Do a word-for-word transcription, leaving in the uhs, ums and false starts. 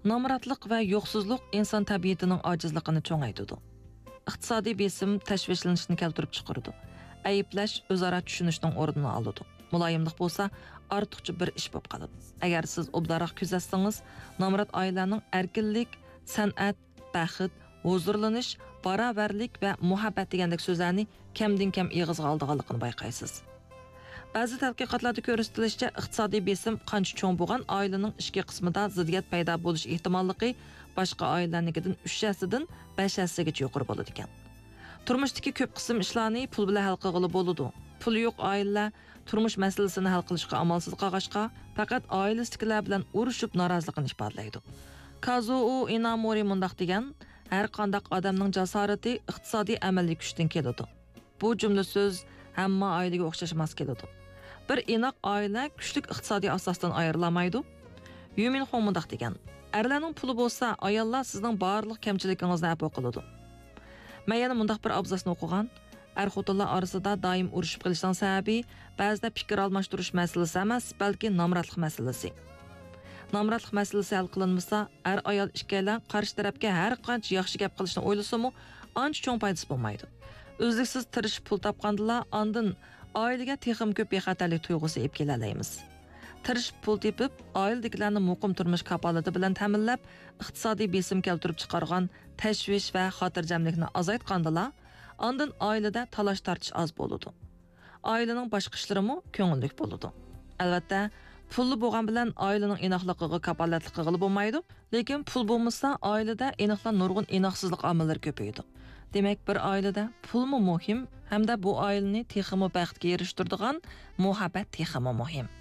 نامراتلىق ۋە يوقسۇزلۇق ئىنسان تەبىئىتىنىڭ ئاجىزلىقىنى چوڭايتىدۇ. ئىقتىسادىي بېسىم تەشۋىشلىنىشنى كەلتۈرۈپ چىقىرىدۇ. ئەيىبلەش ئۆزئارا چۈشىنىشنىڭ ئورنىنى ئالىدۇ. مۇلايىملىق بولسا ئارتۇقچە بىر ئىش بولۇپ قالىدۇ. ئەگەر سىز ئوبدانراق كۆزەتسىڭىز، نامرات ئائىلىلەرنىڭ ئەركىنلىك، سەنئەت، بەخت، ھۇزۇرلىنىش، باراۋەرلىك ۋە مۇھەببەت دېگەندەك سۆزلەرنى كەمدىن كەم ئېغىزغا ئالىدىغانلىقىنى بايقايسىز. بەزى تەتقىقاتلاردا كۆرسىتىلىشىچە، ئىقتىسادىي بېسىم قانچە چوڭ بولغان ئائىلىنىڭ ئىچكى قىسمىدا زىددىيەت پەيدا بولۇش ئېھتىماللىقى باشقا ئائىلىلەرنىڭكىدىن ئۈچ ھەسسىدىن بەش ھەسسىگىچە يۇقىرى بولىدىكەن. تۇرمۇشتىكى كۆپ قىسىم ئىشلارنى پۇل بىلەن ھەل قىلغىلى بولىدۇ. پۇلى يوق ئائىلىلەر تۇرمۇش مەسىلىسىنى ھەل قىلىشقا ئامالسىز قالغاچقا، پەقەت ئائىلىسىدىكىلەر بىلەن ئۇرۇشۇپ نارازىلىقىنى ئىپادىلەيدۇ. كازۇئو ئىنامورى مۇنداق دېگەن، ھەر قانداق ئادەمنىڭ جاسارىتى ئىقتىسادىي ئەمەلىي كۈچتىن كېلىدۇ. بۇ جۈملە سۆز ھەممە ئائىلىگە ئوخشاش ماس كېلىدۇ. بىر ئىناق ئائىلە كۈچلۈك ئىقتىسادىي ئاساستىن ئايرىلالمايدۇ. يۈمىنخۇڭ مۇنداق دېگەن، ئەرلەرنىڭ پۇلى بولسا، ئاياللار سىزنىڭ بارلىق كەمچىلىكىڭىزنى ئەپۇ قىلىدۇ. مەن يەنە مۇنداق بىر ئابزاسنى ئوقۇغان، ئەر-خوتۇنلار ئارىسىدا دائىم ئۇرۇشۇپ قېلىشنىڭ سەۋەبى، بەزىدە پىكىر ئالماشتۇرۇش مەسىلىسى ئەمەس، بەلكى نامراتلىق مەسىلىسى. نامراتلىق مەسىلىسى ھەل قىلىنمىسا، ئەر-ئايال ئىككىيلەن قارشى تەرەپكە ھەر قانچە ياخشى گەپ قىلىشنى ئويلىسىمۇ، ئانچە چوڭ پايدىسى بولمايدۇ. ئۈزلۈكسىز تىرىشىپ پۇل تاپقاندىلا، ئاندىن ئائىلىگە تېخىمۇ كۆپ بىخەتەرلىك تۇيغۇسى ئېلىپ كېلەلەيمىز. تىرىشىپ پۇل تېپىپ، ئائىلىدىكىلەرنى مۇقىم تۇرمۇش كاپالىتى بىلەن تەمىنلەپ، ئىقتىسادىي بېسىم كەلتۈرۈپ چىقارغان تەشۋىش ۋە خاتىرجەملىكنى ئازايتقاندىلا، ئاندىن ئائىلىدە تالاش-تارتىش ئاز بولىدۇ. ئائىلىنىڭ باشقا ئىشلىرىمۇ كۆڭۈللۈك بولىدۇ. ئەلۋەتتە، پۇللا بولغان بىلەن ئائىلىنىڭ ئىناقلىقىغا كاپالەتلىك قىلغىلى بولمايدۇ، لېكىن پۇل بولمىسا، ئائىلىدە ئېنىقلا نۇرغۇن ئىناقسىزلىق ئامىللىرى كۆپىيىدۇ. دېمەك، بىر ئائىلىدە پۇلمۇ مۇھىم ھەمدە بۇ ئائىلىنى تېخىمۇ بەختكە ئېرىشتۈرىدىغان مۇھەببەت تېخىمۇ مۇھىم.